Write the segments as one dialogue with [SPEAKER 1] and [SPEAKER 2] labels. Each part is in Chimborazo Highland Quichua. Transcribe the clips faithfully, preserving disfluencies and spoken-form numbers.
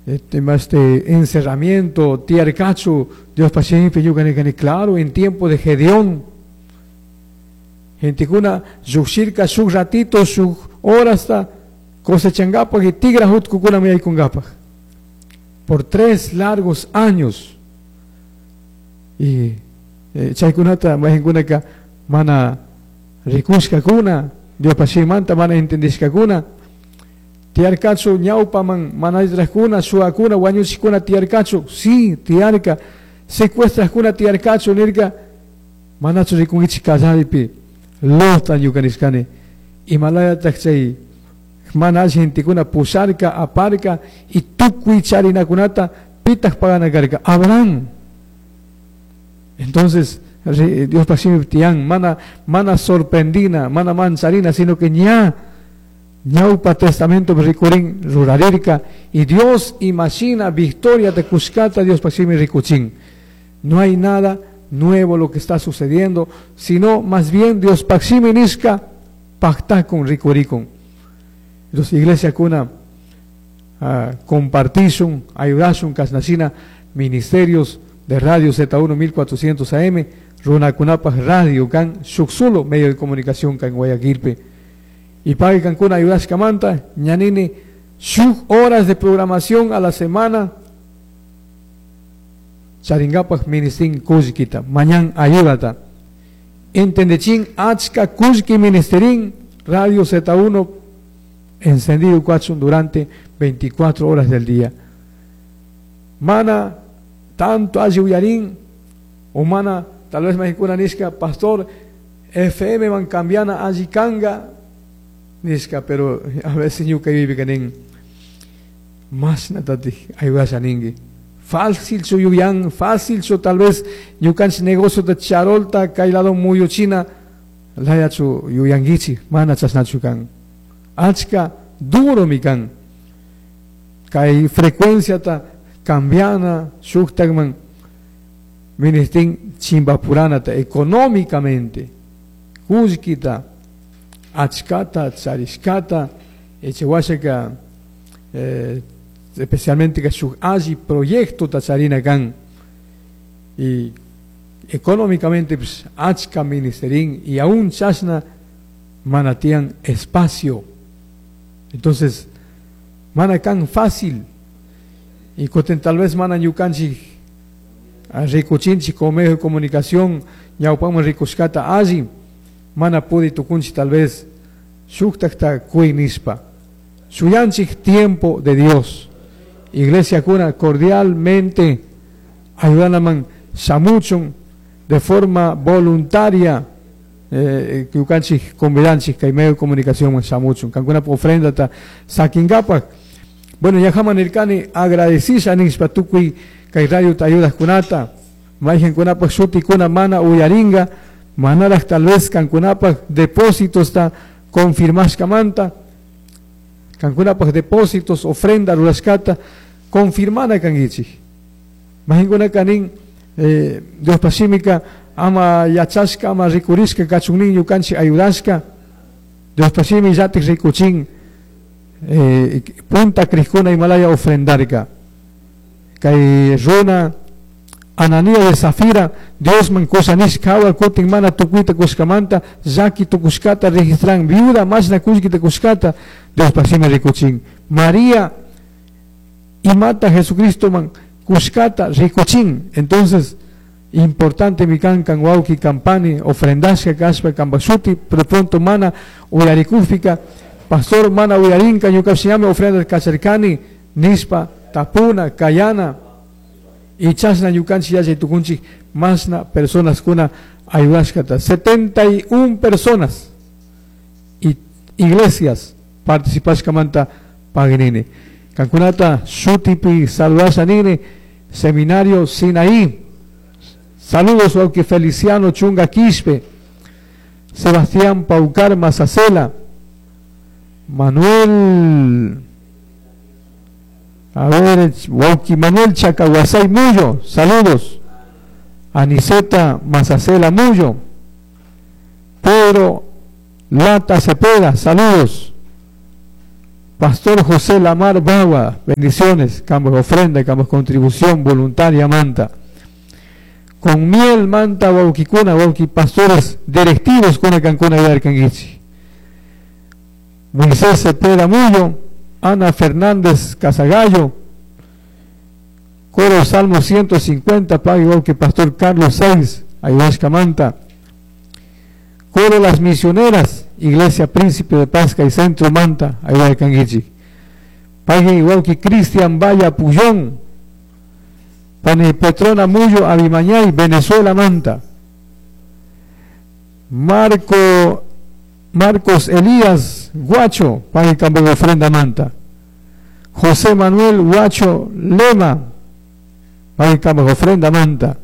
[SPEAKER 1] Este, este encerramiento, tiyarkachu, Diospa shimipi ñuka nirkani, claro, en tiempo de Gedeón, gentekuna llukshirka shuk ratito, shuk horasta cosechangapak y tigra jutkukunami yaykungapak. Por tres largos años. Y eh, chaykunata mayqinkunaka mana rikushkakuna, Diospa shimimanta mana entendishkakuna. Tiyarkachu ñawpaman mana allitrajkuna, shuwakuna, wañuchikuna tiyarkachu, sí, tiyarka, secuestrajkuna tiyarkachu nirka, manachu rikunkichik kallaripi, Lota ñuka nishkani, imalayataj chay mana alli gentekuna pusharka, aparka, y tukuy charinakunata pitaj pagana karka, Abraham. Entonces, re-, Diospa shimi tiyan, mana, mana sorprendina, mana mancharina, sino que ña ñaupa testamento rikurin rurarirka, y Dios imagina victoria de kushkata Diospa shimi rikuchin. No hay nada nuevo lo que está sucediendo, sino más bien Diospa shimi nishka pacta con rikurikun. Entonces, iglesia kuna, ah, compartishun, ayudashun, kasnashina, ministerios de Radio Z uno mil cuatrocientos A M, runakunapaj radio kan, shuk solo medio de comunicación kan Guayaquilpe. Y pague kankuna ayudashkamanta, ñanini, shuk horas de programación a la semana, charingapaj ministin kullkita, mañan ayudata. Entendechin achka kullki ministerin, Radio Z uno encendido cuachun durante veinticuatro horas del día. Mana, tanto ayuyarín, o mana, tal vez mexicuna nisca, pastor, F M man cambiana ayikanga, nisca, pero a veces ñuka vive canin, más natati ayudasa ningui. Fácil su yuyan, fácil su tal vez ñukanch negocio de charolta, kailado muyo china, laya su yuyangichi, mana chasnachukan. Achka duro mikan. Kai frecuencia ta cambiana, shuktakman, ministin chimbapurana ta económicamente, kullkita, achkata, charishkata, echewashaka, eh, especialmente que shuk alli proyecto ta charina kan, y económicamente pues, achka ministerín y aún chasna manatian espacio. Entonces, mana kan fácil, y coten tal vez mana ñukanchi rikuchinchi con medio de comunicación, ñawpama rikushkata alli, mana pudi tukunchi tal vez shuktakta kuy nispa. Shuyanchik tiempo de Dios. Iglesia cuna cordialmente ayudanaman shamuchun de forma voluntaria, eh, ñukanchik convidanchik kay medio de comunicación shamuchun kankuna ofrenda ta sakingapak. Bueno, ya jaman nirkani agradecisha nispa tukuy kay radio ta ayudas kunata mayqin kunapaq shuti kuna mana uyaringa manaraq tal vez kankunapaq depósitos ta confirmashkamanta kankunapaq depósitos ofrenda rurashkata confirmana kankichik mayqin kunaka nin, eh, Dios pashimika ama yachashka ama rikurishka kachun ñukanchik ayudashka Dios pashimi yatik rikuchin, eh, punta kriskuna Himalaya ofrendarka kay runa Ananía de Zafira, Dios man kusanishkawa kutin mana tukuita kushkamanta llaki tukushkata registran viuda mashna kullkita kushkata Dios pashimi rikuchin María imata Jesucristo man kushkata rikuchin. Entonces importante mi kan kan wauki kampani ofrendashka kashpa kambashuti pero pronto mana uyarikufika pastor mana uyarinka ñukapshiñami ofrenda kacharkani nispa tapuna kayana y chasna ñukanchik yachay tukunchik masna personas kuna ayudashkata setenta y un personas y iglesias participashkamanta paginini kankunata shutipi saludasha nini seminario Sinaí. Saludos wauki Feliciano Chunga Quispe, Sebastián Paucar Mazacela, Manuel, a ver, wauki Manuel Chacahuasay Muyo, saludos. Aniceta Mazacela Muyo, Pedro Lata Cepeda, saludos. Pastor José Lamar Bawa, bendiciones, cambos ofrenda, cambos contribución voluntaria manta. Con miel manta wauquicuna, wauqui pastores directivos con cancuna y arcanguichi. Moisés Cepeda Mullo, Ana Fernández Casagallo, Coro Salmo ciento cincuenta, pague igual que Pastor Carlos Seis, Ayahuasca Manta. Coro Las Misioneras, Iglesia Príncipe de Pasca y Centro Manta, Ayahuascanguichi. Pague igual que Cristian Valla Puyón, Pani Petrona Mullo, Abimañay, Venezuela Manta. Marco, Marcos Elías Guacho, pague cambio de ofrenda Manta. José Manuel Guacho Lema, pague cambio de ofrenda Manta.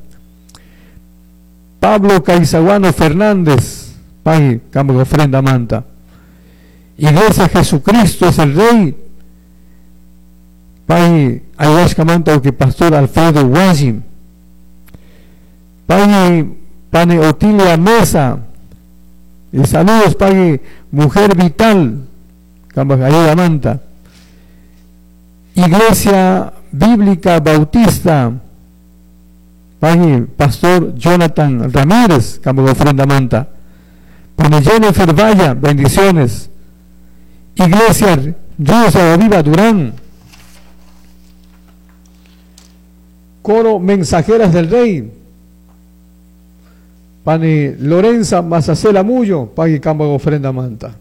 [SPEAKER 1] Pablo Caizaguano Fernández, pague cambio de ofrenda Manta. Iglesia Jesucristo es el Rey, pague Ayahuasca Manta, o que Pastor Alfredo Guayim. Pague Pane Otilia Mesa, y saludos, pague Mujer Vital, cambio de ayuda Manta. Iglesia Bíblica Bautista, pague Pastor Jonathan Ramírez, cambio de ofrenda Manta. Pane Jennifer Valla, bendiciones. Iglesia Ríos Viva Durán. Coro Mensajeras del Rey, Pani Lorenza Mazacela Mullo, pague cambio de ofrenda Manta.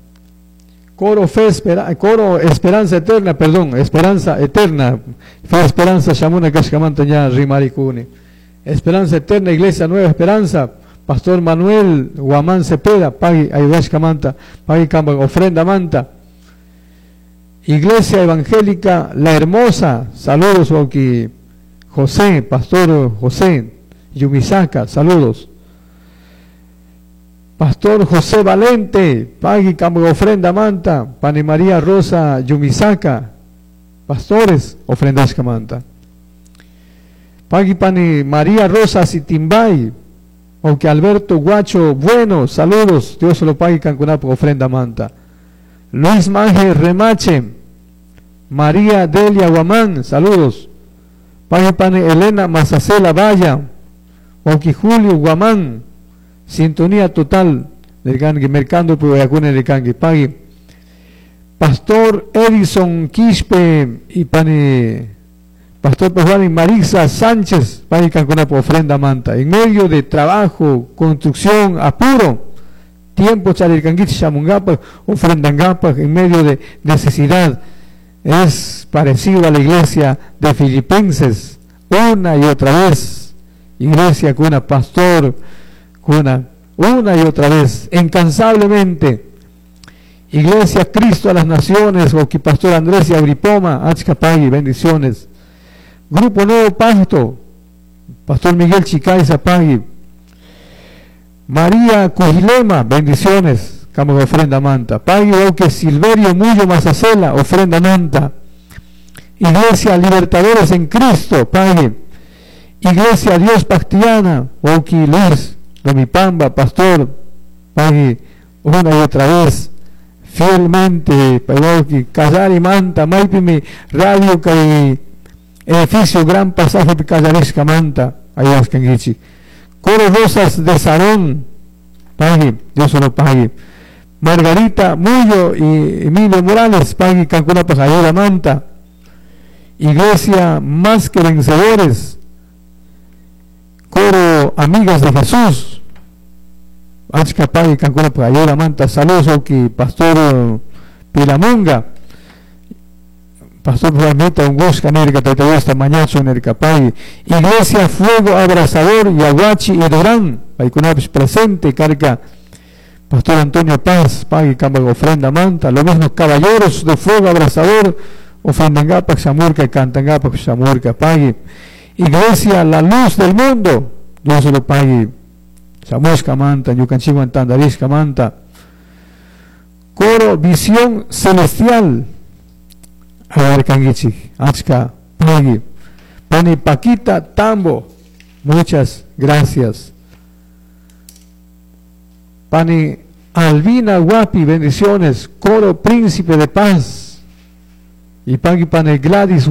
[SPEAKER 1] Coro Fe Espera, Coro Esperanza Eterna, perdón, Esperanza Eterna, Fe Esperanza Shamuna Kashkamanta ya Rimaricuni. Esperanza Eterna, Iglesia Nueva Esperanza, Pastor Manuel Guamán Cepeda, pague Ayahuasca Manta, pague cambio de ofrenda Manta. Iglesia Evangélica La Hermosa, saludos Oki José, Pastor José Yumisaka, saludos. Pastor José Valente, pague cambio de ofrenda Manta. Pani María Rosa Yumisaka, pastores, ofrendas Manta. Pagui Pani María Rosa Sitimbay, aunque Alberto Guacho Bueno, saludos, Dios se lo pague Cancunapo, ofrenda Manta. Luis Manje Remache, María Delia Guamán, saludos. Pague Pani Elena Mazacela Valla, aunque Julio Guamán, sintonía total del Gangui, mercando por del Gangui, pague. Pastor Edison Quispe y Pani Pastor Juan y Marisa Sánchez, pague Cancunapo, ofrenda Manta. En medio de trabajo, construcción, apuro, tiempo charircanguich, chamungapa, ofrendangapa, en medio de necesidad. Es parecido a la iglesia de Filipenses, una y otra vez. Iglesia cuna, pastor cuna, una y otra vez, incansablemente. Iglesia Cristo a las Naciones, o que Pastor Andrés y Agripoma, Achcapagui, bendiciones. Grupo Nuevo Pacto, Pastor Miguel Chicay Zapagui. María Cujilema, bendiciones, cambio de ofrenda Manta. Pagui Oque Silverio Mullo Mazacela, ofrenda Manta. Iglesia Libertadores en Cristo, pagui. Iglesia Dios Pactiana, Oki Luis Lomipamba, pastor, pagui, una y otra vez, fielmente, pagui, Callari Manta, Maipimi, Radio Cai, edificio Gran Pasaje Callaresca Manta, Ayahuascanguichi. Coro Rosas de Sarón, pagui, Dios lo pague. Margarita Mullo y Emilio Morales, pagui, Cancuna Pajayora Manta. Iglesia Más que Vencedores, Coro Amigas de Jesús, Achca pagui, Cancuna Pajayora Manta. Saludos, Oki, Pastor Pilamunga, Pastor Juanita Ungosca, Nerca, Tatahuasta, Mañazo, Nerca, pagui. Iglesia Fuego Abrasador, Yaguachi y Durán, Paikunapis presente, carga. Pastor Antonio Paz, pagui, cambio de ofrenda Manta. Lo mismo Caballeros de Fuego Abrasador, ofrendangapa, Xamurca, cantangapa, Xamurca, pagui. Iglesia La Luz del Mundo, Dios se lo pague. Chamusca Manta, Yucanchihuan Tandarisca Manta. Coro Visión Celestial, Agarcanguichi, Achca, pagui. Pani Paquita Tambo, muchas gracias. Pani Albina Guapi, bendiciones. Coro Príncipe de Paz. Y pagui pani Gladys.